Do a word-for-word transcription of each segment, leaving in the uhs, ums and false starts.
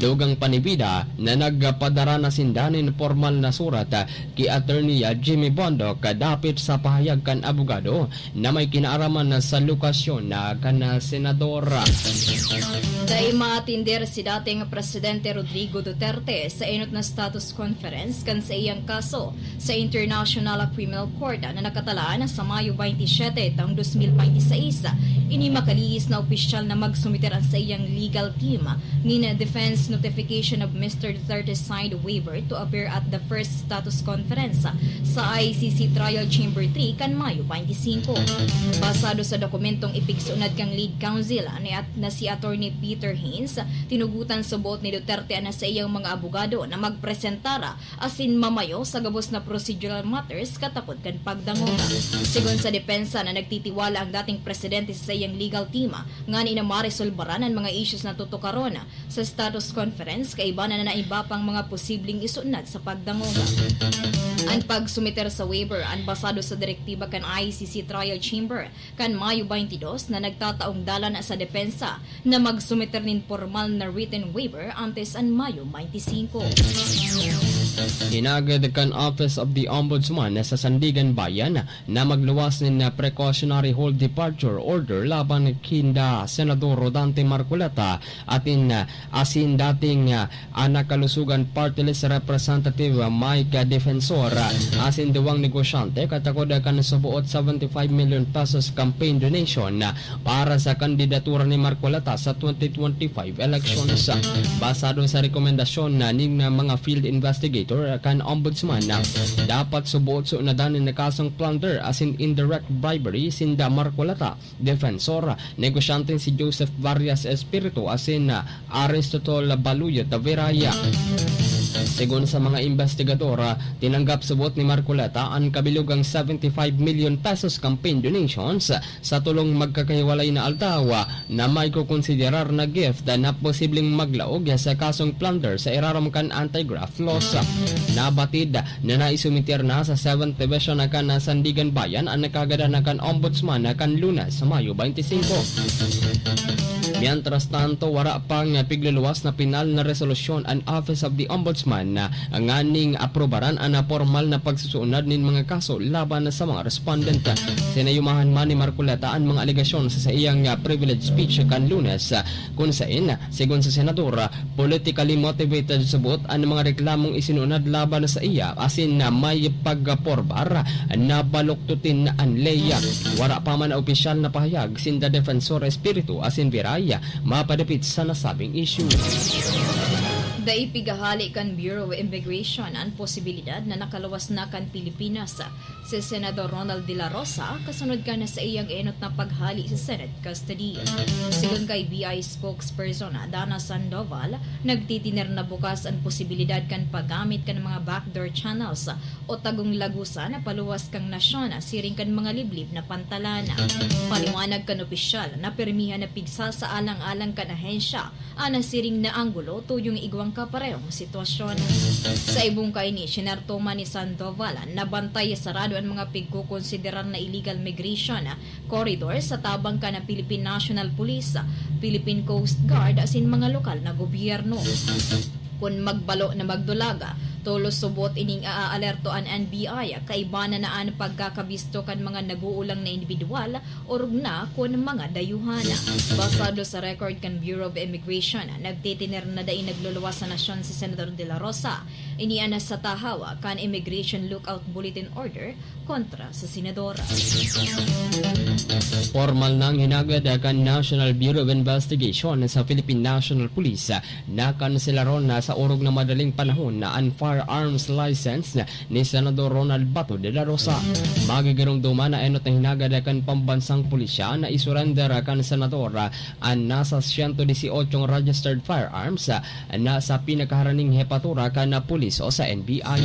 Dugang pa ni Vida na nagpadara na sinda nin pormal na surat ki Attorney Jimmy Bondoc dapit sa pahayag kan abogado na may kinaaraman sa lokasyon na kan senador. Dai maatender si dating Presidente Rodrigo Duterte sa enot na status conference kan saiyang kaso sa International Criminal Court na nakatalaan sa Mayo twenty-seven taong dos mil bente seis. Ini makalihis na opisyal na magsumiter an saiyang legal team nin defense notification of Mister Duterte signed waiver to appear at the first status conference sa I C C Trial Chamber three kan Mayo twenty-five. Basado sa dokumentong ipigsunad kan lead counsel na, na si Attorney Peter Haynes, tinugutan sa boot ni Duterte an saiyang mga abogado na magpresentara asin mamayo sa gabos na procedural matters katapod kan pagdangog. Sigon sa depensa na nagtitiwala ang dating presidente sa saiyang legal team ngani na maresolbaran an mga issues na tutukaron sa status conference, kaiba na na iba pang mga posibleng isunad sa pagdangog. An pagsumiter sa waiver an basado sa direktiba kan I C C Trial Chamber kan Mayo twenty-two na nagtataong dalan sa depensa na magsumiter nin pormal na written waiver antes an Mayo twenty-five. Hinagad kan Office of the Ombudsman sa Sandigan Bayan na magluwas nin precautionary hold departure order laban kinda Senador Rodante Marcoleta atin asin dating ah, an Kalusugan Party List Representative Mike Defensor, ah, asin duwang negosyante katakod kan suboot seventy-five million pesos campaign donation, ah, para sa kandidatura ni Marcoleta sa twenty twenty-five elections. Basado sa rekomendasyon na ning mga field investigator kan Ombudsman, ah, dapat suboot sunadan nin kasong plunder asin indirect bribery sinda Marcoleta, Defensor, negosyanteng si Joseph Varias Espiritu asin, ah, Aristotle Baluyot Viraya. Sigon sa mga investigador, ah, tinanggap subot ni Marcoleta an kabilugang seventy-five million pesos campaign donations sa tolong magkakahiwalay na aldaw, ah, na may kokonsiderar na gift na posibleng maglaog sa kasong plunder sa irarom kan anti-graft laws. Nabatid na naisumiter na sa Seventh Division kan Sandigan Bayan an kagadanan kan Ombudsman kan Lunes, Mayo twenty-five. Mientras tanto, wara pang pigluluwas na penal na resolusyon an Office of the Ombudsman nganing aprobaran an pormal na pagsusunod nin mga kaso laban sa mga respondent. Sinayumahan man ni Marcoleta an mga alegasyon sa saiyang privilege speech kan Lunes, kun saen, sigon sa senador, politically motivated subot an mga reklamong isinunod laban sa iya asin na may pagkaporbar na baluktutin an ley. Wara pa man na opisyal na pahayag sinda Defensor Espiritu asin Viray mapadapit sa nasabing issue. Dai pigahali kan Bureau of Immigration an posibilidad na nakaluwas na kan Pilipinas si Senador Ronald De La Rosa kasunod kan saiyang enot na paghali sa Senate custody. Sigon kay B I spokesperson Dana Sandoval, nagtitiner na bukas an posibilidad kan paggamit kan mga backdoor channels o tagong lagusan na paluwas kan nasyon siring kan mga liblib na pantalan. Paliwanag kan opisyal na pirmihan na pigsasaalang-alang kan ahensya an siring na anggulo tuyong igwang kaparehong sitwasyon. Sa ibong kaini, sinerto man ni Sandoval na bantay sarado an mga pigkokonsiderar na illegal migration corridor sa tabang kan Philippine National Police, Philippine Coast Guard asin mga lokal na gobyerno. Kun magbalo na magdulag, tolos subot ining aaalerto an N B I, kaiba na na an pagkakabisto kan mga nag-uulang na indibidwal, orog na kun mga dayuhan. Basado sa record kan Bureau of Immigration, nagtitiner na dai nagluluwas sa nasyon si Senador De La Rosa. Ini an sa tahaw kan Immigration Lookout Bulletin Order kontra sa senador. Pormal nang hinagad kan National Bureau of Investigation sa Philippine National Police na kanselaron na sa orog na madaling panahon na an firearms license ni Senador Ronald Bato de la Rosa. Magigiromdoman na enot na hinagad kan pambansang pulisya na isurender kan senador an nasa siyento disyotong registered firearms na sa pinakaharaning hepatura kan pulis o sa N B I.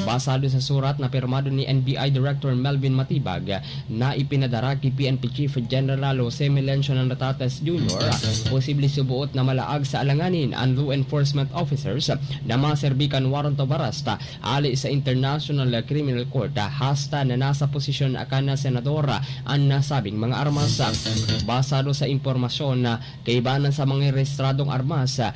Basado sa surat na pirmado ni N B I Director Melvin Matibag na ipinadara ki P N P Chief General Jose Melencio Natates Junior, posible suboot na malaag sa alanganin an law enforcement officers na maserbi kan warrant of arrest hali sa International Criminal Court hasta na nasa posisyon kan senador an nasabing mga armas. Basado sa impormasyon na kaibanan sa mga rehistradong armas, ah,